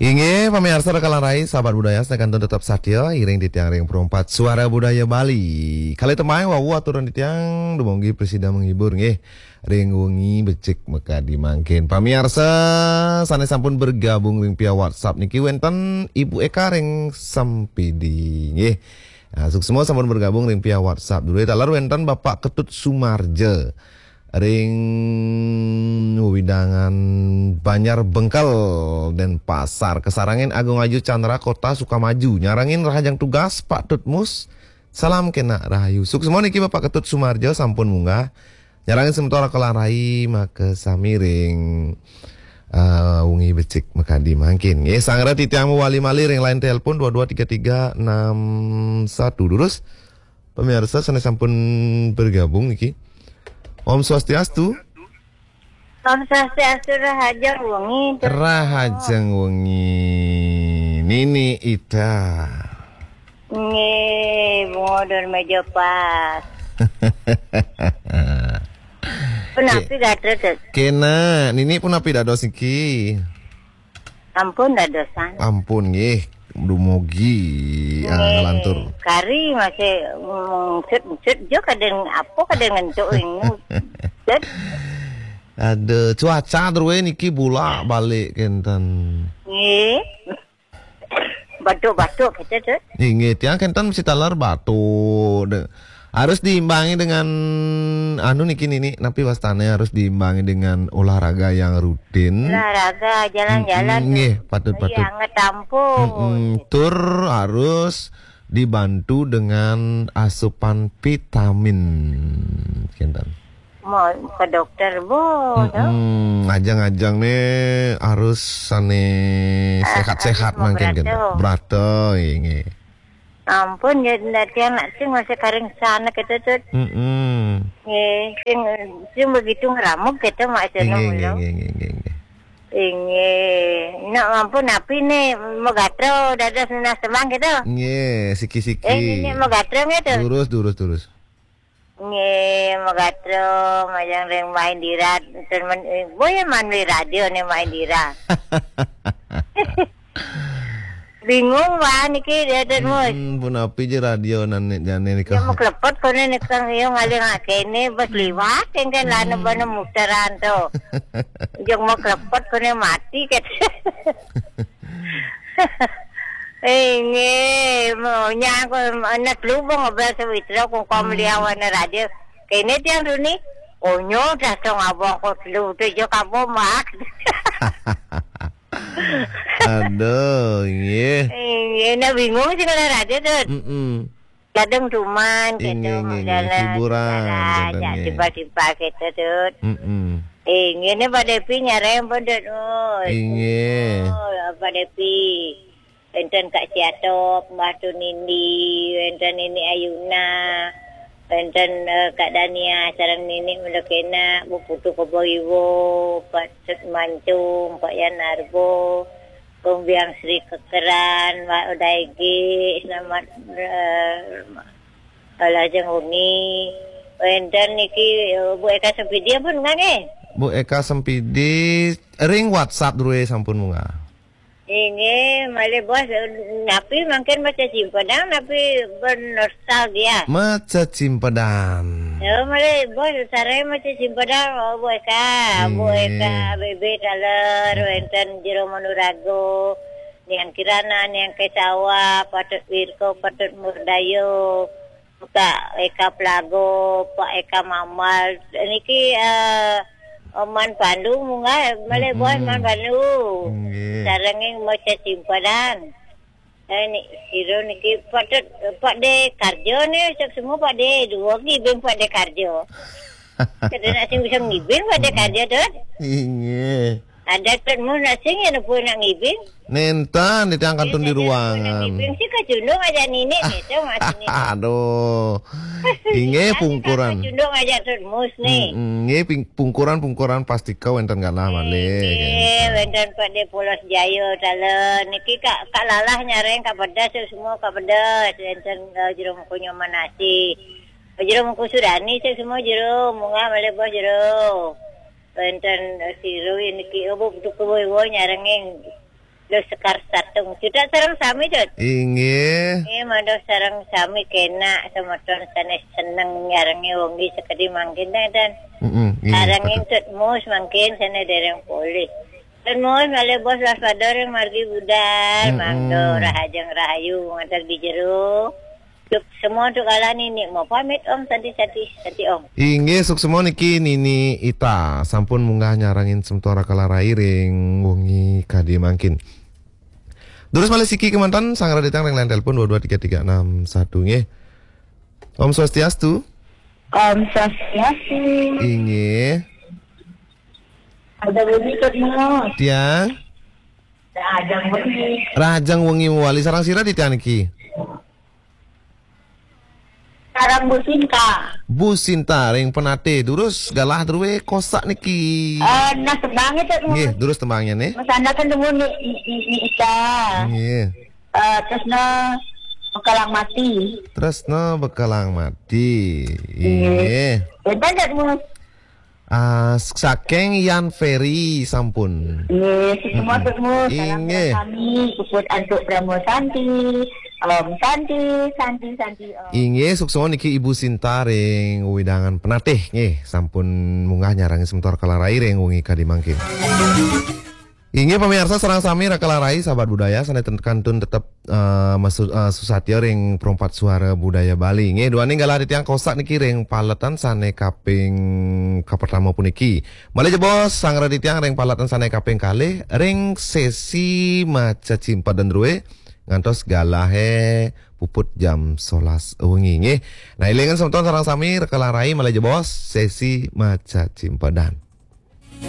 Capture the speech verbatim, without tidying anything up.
Inggih, pamiarsa rikala rai, sahabat budaya, sané kantun tetep satia iring titiang ring Perumpat Suara Budaya Bali. Kalih tembang wau aturan titiang dumogi prasida menghibur nggih ring wengi becik makadi mangkin. Pamiarsa sané sampun bergabung ring via WhatsApp niki wénten Ibu Eka ring Sempidi nggih. Nah, suksma sampun bergabung ring via WhatsApp. Duwe taler wénten Bapak Ketut Sumarja ring wewidangan Banjar Bengkel, Denpasar. Kasarengin Agung Ayu Chandra, Kota Sukamaju. Nyarengin rahajeng tugas Pak Tutmus. Salam kénak rahayu. Suksma niki Bapak Ketut Sumarja sampun munggah. Nyarengin semeton rikala rai makasami ring eh, wengi becik makadi mangkin. Nggih, sareng titiang mawali malih ring line telepon dua dua tiga tiga enam satu. Durus, pamiarsa sané sampun bergabung niki. Om Swastiastu. Om Swastiastu, rahajeng wengi, Tut. Rahajeng wengi. Nini Ida. Nggih, bunga dan meja pas. Punapi gatra, Tut? Kénak, nini punapi dados niki? Ampun dadosan. Ampun nggih, dumugi ah, Nggih. Lantur. Kari masih, mm, sut-sut jo kadang apa kadang ngentuk ini. Sut. Aduh, cuaca druwe niki bolak-balik kénten. Nggih. Batuk-batuk kita, Tut. Inggih, tiang kénten mesti taler batuk. De-, harus diimbangi dengan anu niki nini, napi wastane harus diimbangi dengan olahraga yang rutin. Olahraga, jalan-jalan, Mm-mm, nggih, Tut. Patut, Iya, patut. Anget ampun. Mm-mm, tur harus dibantu dengan asupan vitamin. Kénten. Mau ke dokter, Bu, to? Mm-mm. Ajang-ajang ne harus sane Ah, sehat-sehat harus mangkin, brata. Brata, inggih. Ampun, ya, ndak tiang nak sing masih karing sana kita, Tut. Mm-mm. Nggih, sing, sing begitu ngeramuk kita, Mak, sana. Inggih, mula. Inggih, inggih, inggih, inggih. Inggih. Nak ampun, napi ne, megatra dados nunas tembang kita? Nggih, siki-siki. Eh, ini megatra nggih, Tut? Durus, durus, durus. Nggih, megatra majeng ring Mak Indira, ten men-, eh, boya manwi radio ne Mak Indira. Bingung, Pak, niki, dia, Tut Mus. Mm-mm, punapi ja radio nane, jane nika. Ya, maklepet kone nika, ya, ngalih ngakene, bas liwat, yang kan, lana bana muteran to. Jeng maklepet kone mati, kata. Inggih, mo, nyang ko, anak lu, bang, abang sawitra, kong kom liawan radio. Kene tiang duni, onyo, dah, tong abang, ko, lu, tu, jo, kapo, mak. Aduh, inggih. Inggih, nah, bingung sih kalau radio, Tut. Mm-mm. Kadang cuman, gitu, Inggih, inggih, inggih. Jalan, hiburan, jalan, gitu, ya, nggih. Simpel-simpel, gitu, Tut. Mm-mm. Inggih, ini Pak Devi nyareng pun, Tut Mus. Inggih. Oh, Pak Devi. Wénten Kak Siatop, Mbah Tunindi, wénten Nini Ayuna, wénten, eh, Kak Dania, sareng Nini Melekena, Bu Putu Kebo Iwo, Pak Tut Mancung, Pak Yan Arbo, Kong Biang Sri Kekeran, Mbak Odaigi, selamat, eh, Kalajeng wengi. Wénten niki, eh, Bu Eka Sempidi ampun munggah nggih? Bu Eka Sempidi ring WhatsApp druwe sampun munggah. Inggih, malih bos, eh, napi mangkin maca simpedan, napi bernostalgia? Maca simpedan. Ya, malih bos, sareng maca simpedan, oh, Bu Eka, Bu Eka, Inggih. Bebe taler, wénten Jero Manurago, Niang Kirana, Niang Kesawa, Patut Wirko, Patut Murdayo, Kak Eka Plago, Pak Eka Mamal. Niki, eh, Man Pandu munggah, malih bos Man Pandu. Nggih. Sarenging maca simpedan. Eh, ni, sira niki Pak Tut, Pak De Karjo ni, cek semua Pak De, dua ngibing Pak De Karjo. Kada nak sing bisa ngibing Pak De Karjo, Tut. Inggih. Ada Tut Mus nak sing, ya, napa nak ngibing? Nénten, titiang kantun di ruangan. Ngibing sih kacundung aja nini, gitu, Mas, ini. Aduh. Inggih, pungkuran. Kacundung aja Tut Mus, nih. Mm-mm, nggih, ping-, pungkuran-pungkuran pastika wénten galah malih, nggih, gitu. Wénten Pak De Polos Jaya, taler. Niki Kak, Kak Lalah nyareng, Kak Pedas, semua Kak Pedas. Wénten, eh, Jero Mengko Nyoman Asih. Jero Mengko Sudani, saya semua Jero. Munggah malih bos Jero. Wénten, eh, sira niki, oh, Bu Putu Kebo Iwo nyarengin. Lho Sekar Satung. Cedhak sareng sami, Dut. Inggih. Nggih, matur sareng sami kena semeton sanes seneng nyarengi wengi sekadi mangkin, Dut. Mm-mm, nggih, sareng betul. Tut Mus mangkin sane dereng polih. Tut Mus malih bos waspada ring margi budal, mm-mm, mangda rahajeng rahayu ngantos di jero. Suksma untuk kala nini, mau pamit Om, santi-santi, santi Om. Inggih, suksma niki Nini Ita sampun munggah nyarengin semeton Raka Larai ring wengi kadi mangkin. Terus malih siki kemanten, sang raditang ring line telepon dua dua tiga tiga enam satu nggih. Om Swastiastu. Om Swastiastu. Inggih. Ada bunyi Tut Mus. Tiang. Ada bunyi. Rahajeng wengi mawali, sareng sira di tiang niki? Sareng Bu Sinta. Bu Sinta ring Penatih, durus galah druwe kosak niki. Eh, nah tembangnya Tut Mus. Nggih, durus tembangnya nih. Mas Anda kan temu nih i, i, i, Ita. Nggih. Eh, Tresna Bekalang Mati. Tresna Bekalang Mati. Nggih. Nggih. Benten Tut Mus. Ah, saking Yan Ferry sampun. Nggih, suksma Tut Mus. Salam inggih. Kami, puput antuk Brahma Santi. Om Santi, Santi, Santi, Om. Inggih, suksma niki Ibu Sinta ring wewidangan Penatih nggih, sampun munggah nyarengin semeton Raka Larai ring wengi kadi mangkin. Inggih, pamirsa, sareng sami Raka Larai, sahabat budaya, sane ten-, kantun tetep, eh, masu-, eh, susatya ring Perempat Suara Budaya Bali. Nggih, duaning galah titiang kosak niki ring paletan sane kaping kapertama puniki. Malih jebos, sang raditang ring paletan sane kaping kalih ring sesi maca cimpedan druwe ngantos galahe puput jam sebelas wengi, nggih. Nah, elingan semeton sareng sami Raka Larai malih jebos sesi maca cimpedan.